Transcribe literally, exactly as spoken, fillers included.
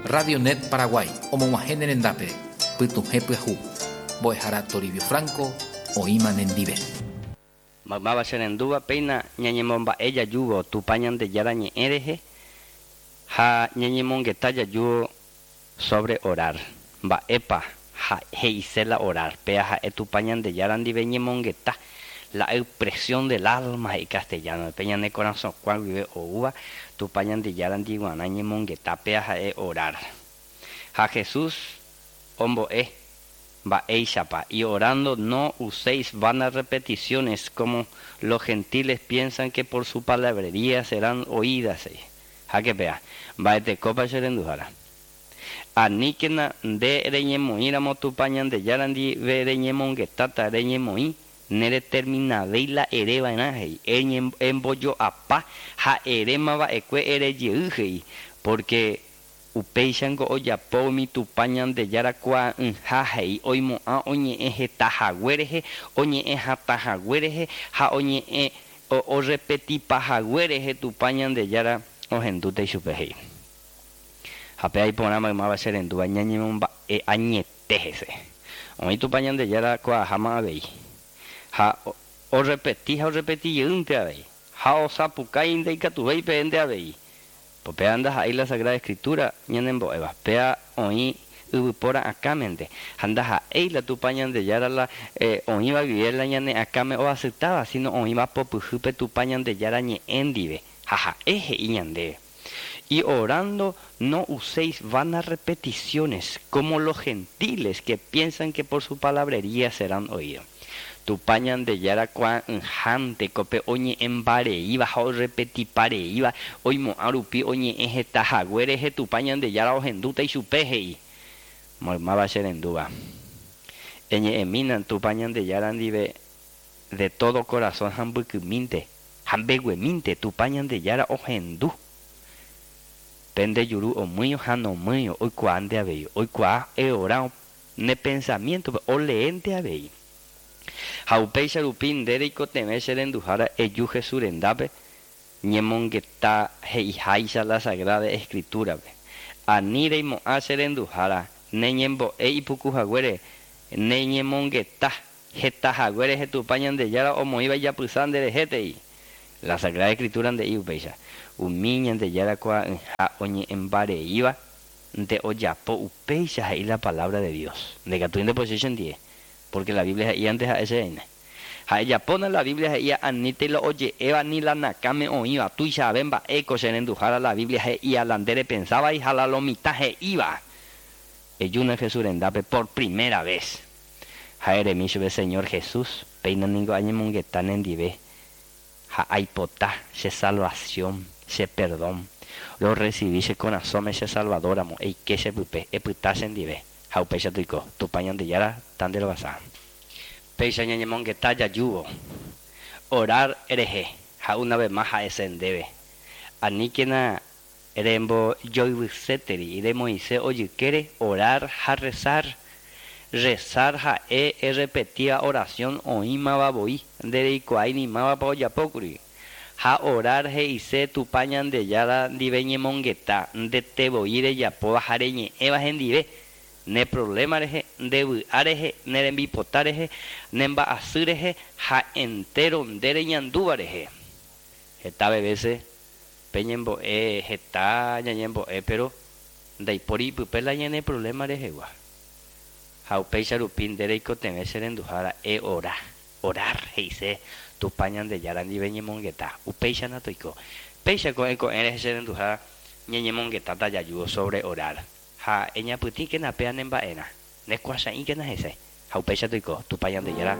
Radio Net Paraguay, omog̃uahẽ ne rendápe, pytuhẽ pyahu. Mbo'ehára Toribio Franco, oĩma nendive. Maymáva cherendúva péina ñañemomba'e jajúvo Tupã Ñandejára ñe'ẽ rehe ha ñañemongeta jajúvo sobre orar. Mba'épa he'ise la orar. Péa ha'e Tupã Ñandejára ndive ñemongeta. La expresión del alma he'i castellano. Pe ñane korasõkua guive oúva Tupã Ñandejára ndiguarã ñemongeta. Péa ha'e orar. Ha Jesús ombo'e mba'éichapa. Y orando no uséis vanas repeticiones como los gentiles piensan que por su palabrería serán oídas. Háke péa. Mba'etekópa che renduhára. Aníkena nde reñemoĩramo Tupã Ñandejára ndive reñemongetáta reñemoĩ nereterminavéi la ereva'erã he'i. Embojo'apa ha erémava'ekue erejey he'i. Porque upéichango ojapo umi Tupã Ñandejára kuaa'ỹha he'i oimo'ã oñe'ẽ heta hague rehe, oñe'ẽ hatã hague rehe ha oñe'ẽ orepetipa hague rehe Tupã Ñandejára ohendúta ichupe he'i. Ha péa iporã maymáva cherendúva ñañemomba'e añete hese. Oĩ Tupã Ñandejára kuaaháma avei. Ha orepeti ha orepetijeýnte avei. Ha osapukái ndaikatuvéi peẽnte avei. Péa ndaha'éi la Sagrada Escritura ñanembo'éva. Péa oĩ yvypóra akãmente. Ha ndaha'éi la Tupã Ñandejára la oĩva guive la ñane akãme oasytáva, sino oĩva popyhýpe Tupã Ñandejára ñe'ẽ ndive. Ha ha'e he'i ñandéve. Y orando no uséis vanas repeticiones como los gentiles que piensan que por su palabrería serán oídos. Tupã Ñandejára kuaa'ỹhánte pe oñe'ẽmbareíva ha orepetipareíva oimo'ã rupi oñe'ẽ heta hague rehe Tupã Ñandejára ohendúta ichupe he'i. Maymáva cherendúva. Eñe'ẽmína Tupã Ñandejára ndive de todo corazón ha mbykymínte ha mbeguemínte Tupã Ñandejára ohendu. Pende juru omýi ha nomýi oikuaánte avei. Oikuaa eorã ne pensamiento oleénte avei. Ha upéicha rupi nde reikotevẽ che renduhára eju Jesús rendápe ñemongeta he'iháicha la Sagrada Escritura-pe. Ani reimo'ã che renduhára neñembo'e ipuku haguére neñemongeta heta haguére Tupã Ñandejára omoĩva ijapysa nderehétei. La Sagrada Escritura nde'i upéicha. Umi Ñandejára kuaa'ỹha oñe'ẽmbareíva nde ojapo upéicha he'i la palabra de Dios. Ndekatúi ndepochy chendie. Porque la Biblia he'i antes ha'e chereine. Ha ejapóna la Biblia he'ía anítei la oje'éva ni la nakãme oĩva. Tuichave mba'éko che renduhára la Biblia he'ía la nde repensávai ha la lo mitã he'íva. Ejúna Jesús rendápe por primera vez. Ha eremi chupe Señor Jesús, péina ningo añemongeta nendive. Ha aipota che salvación, che perdón. Lo recibí che korasõme che salvadoramo, eike che pype, epyta chendive. Ha upéicha toiko, Tupã Ñandejára tanderovasa. Péicha ñañemongeta jajúvo. Orar rehe, ha una vez más ha'ese ndéve. Aníkena rembojoyvyséteri remoĩse ojykére orar ha rezar. Rezar ha'e errepetíva oración oĩmava voi ndereikuaái ni mávapa ojapókuri. Ha orar he'ise Tupã Ñandejára ndive ñemongeta ndete voi rejapóva ha reñe'ẽva hendive. Ne problema rehe, nde vy'a rehe, ne rembipota rehe, ne mba'asy rehe ha entero nde reñandúva rehe. Heta veces peñembo'e heta ñañembo'e pero ndaipóri pype la ñane problema rehegua. Ha upéicha rupi nde reikotevẽ che renduhára eora. Orar he'ise Tupã Ñandejára ndive ñemongeta. Upéicha natoiko. Péicha ko'ẽ ko'ẽ rehe che renduhára ñañemongetáta jajúvo sobre orar. Ha eñapytĩkena péa nemba'erã. Nekuachaĩkena hese. Ha upéicha toiko. Tupã Ñandejára